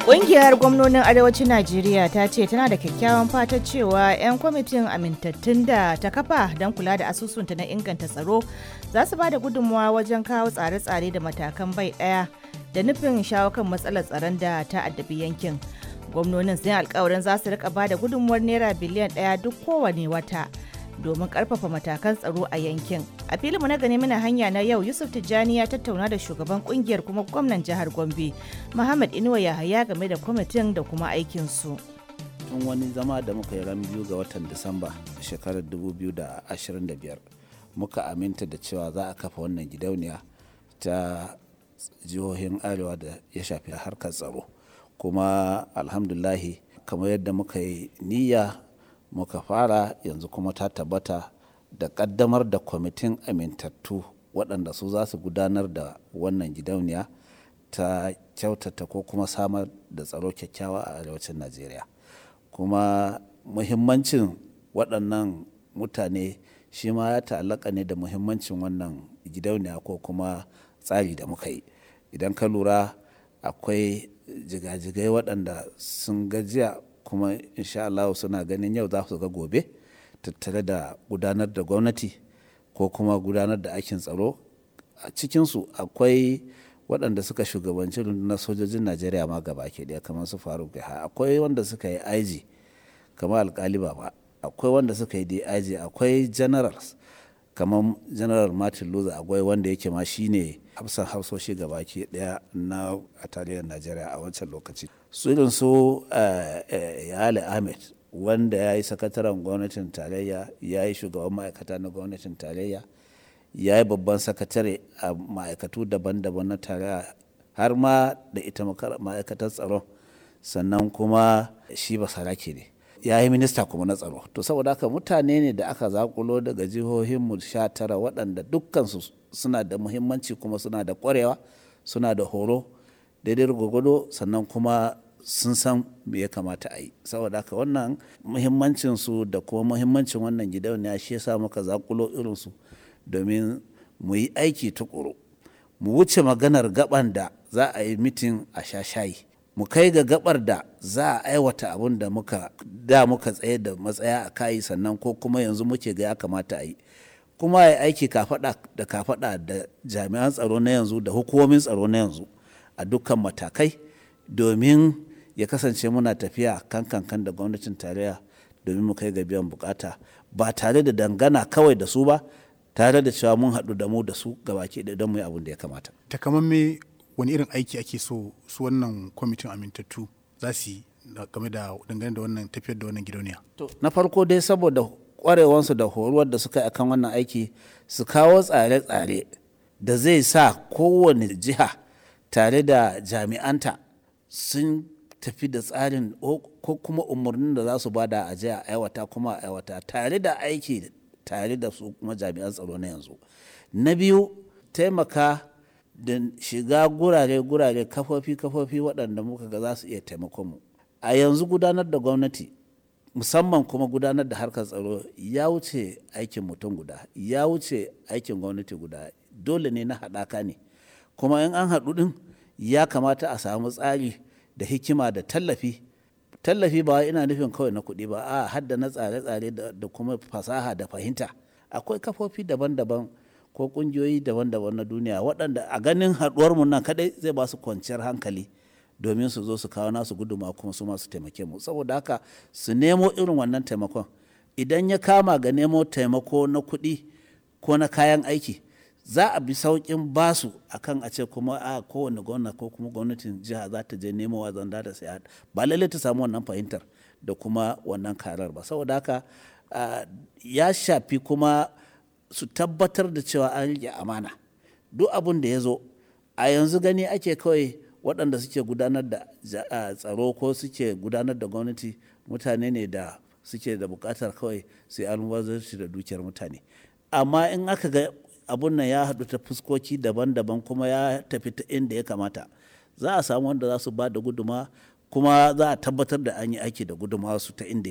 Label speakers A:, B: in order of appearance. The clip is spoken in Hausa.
A: Ƙungiyar gwamnonin Arewacin Najeriya ta ce tana da kyakkyawan fata cewa 'yan kwamitin amintattun da ta kafa don kula da asusunta na inganta tsaro za su ba da gudunmawa wajen kawo tsare-tsare da matakan bai ɗaya da nufin shawo kan matsalar tsaron da ta addabi yankin. Gwamnonin sun yi alkawarin za su rika ba da gudunmuwar naira biliyan 1 duk kowane wata domin karfafa matakan tsaro a yankin. A filinmu na gani muna hanya na yau, Yusuf Tijjani ya tattauna da shugaban kungiyar kuma gwamnan jihar Gombe, Muhammad Inuwa Yahaya, game da kwamitin da kuma aikinsu.
B: Tun wani zama da muka yi ran 2 ga watan Disamba shekarar 2025 muka aminta da cewa za a kafa wannan gidauniya ta jihohin Arewa da ya shafi harkar tsaro. Kuma alhamdulahi, kamar yadda muka yi niyya muka fara, yanzu kuma ta tabbata da kaddamar da kwamitin amintattu waɗanda su za su gudanar da wannan gidauniya ta kyautata ko kuma samar da tsaro kyakkyawa a Arewacin Najeriya. Kuma muhimmancin waɗannan mutane shi ma ya ta'allaka ne da muhimmancin wannan gidauniya ko kuma tsari da muka yi. Idan ka lura, akwai jigajigai waɗanda sun gajiya kuma insha Allah suna ganin yau za su ga gobe tattare da gudanar da gwamnati ko kuma gudanar da aikin tsaro. A cikinsu akwai waɗanda suka shugabanci rundunar sojojin Najeriya ma gaba ke ɗaya, kamar su Faruk Yahaya. Akwai wanda suka yi IG kamar Alkali Baba. Akwai wanda suka yi DIG. Akwai generals kamar General Martin Luther Agwai, wanda yake ma shine hafsan hafsoshi gaba ke ɗaya na a tarihin Najeriya a wancan lokaci. Su irin su Yale Ahmed, wanda ya yi sakataren gwamnatin tarayya, ya yi shugaban ma'aikata na gwamnatin tarayya, ya yi babban sakatare a ma'aikatu daban-daban na tarayya, har ma da ita ma'aikatar tsaron. Sannan kuma shi basarake ne, ya yi minista kuma na tsaro. To, saboda haka mutane ne da aka zakulo daga jihohinmu 19 waɗanda dukkansu suna da muhimmanci kuma suna da ƙwarewa, suna da horo daidai gwagwado, sannan kuma sun san me ya kamata a yi. Saboda haka wannan muhimmancin su da kuma muhimmancin wannan gidauniya shi yasa muka zakulo irinsu domin mu yi aiki tukuru, mu wuce maganar gaban da za a yi mitin a sha shayi, mu kai ga gabar da za a aiwata abin da muka da muka tsaye da matsaya a kayi, sannan ko kuma yanzu muke ga ya kamata a yi, kuma ya aiki kafada da kafada da jami'an tsaro na yanzu da hukumomin tsaro na yanzu a dukkan matakai, domin ya kasance muna tafiya kan kankan da gwamnatin tarayya domin mu kai ga biyan bukata, ba tare da dangana kawai da su ba, tare da cewa mun haɗu da mu da su gabaki ɗaya don mu yi abin da ya kamata.
C: Takamamme wani irin aiki ake so su wannan kwamitin amintattu za su yi game da dangane da wannan tafiyar da wannan gidauniya?
B: To, na farko dai, saboda kwarewansu da horuwar da suka yi akan wannan aiki, su kawo tsare-tsare da zai sa kowane jiha tare da jami'anta sun tafi da tsarin ko kuma umarnin da za su bada a jiya aiwata, kuma a aiwata tare da aiki tare da su kuma jami'an tsaro na yanzu. Na biyu, taimaka da shiga gurare-gurare, kafofi-kafofi waɗanda muka ga za su iya taimakon mu. A yanzu gudanar da gwamnati, musamman kuma gudanar da harkar tsaro, ya wuce aikin mutum guda, ya wuce aikin gwamnati guda. Dole ne na haɗaka ne. Kuma in an haɗu ɗin, ya kamata a samu tsari da hikima da tallafi. Tallafi ba ina nufin kawai na kuɗi ba, a hadda na tsare-tsare da kuma fasaha da fahimta. Akwai kafofi daban-daban ko ƙungiyoyi daban-daban na duniya waɗanda a ganin haɗuwar mu nan kaɗai zai ba su kwanciyar hankali domin su zo su kawo nasu guduma kuma su masu taimake mu. Saboda haka su nemo irin wannan taimakon. Idan ya kama ga nemo taimako na kuɗi ko na kayan aiki, za a bi sauƙin basu akan a ce kuma a kowane gwamna ko kuma gwamnatin jiha za ta je nemowa zanda da saya, ba lallai ta samu wannan fahimtar da kuma wannan karar ba. Saboda haka ya shafi kuma su tabbatar da cewa an riƙe amana. Duk abin da ya zo a yanzu, gani ake kawai waɗanda suke gudanar da tsaro ko suke gudanar da gwamnati mutane ne da suke da buƙatar kawai su yi almubazzaranci da dukiyar mutane. Amma in aka ga abun nan ya haɗu ta fuskoki daban-daban kuma ya tafi ta inda ya kamata, za a samu wanda za su ba da guduma, kuma za a tabbatar da an yi aiki da guduma su ta inda ya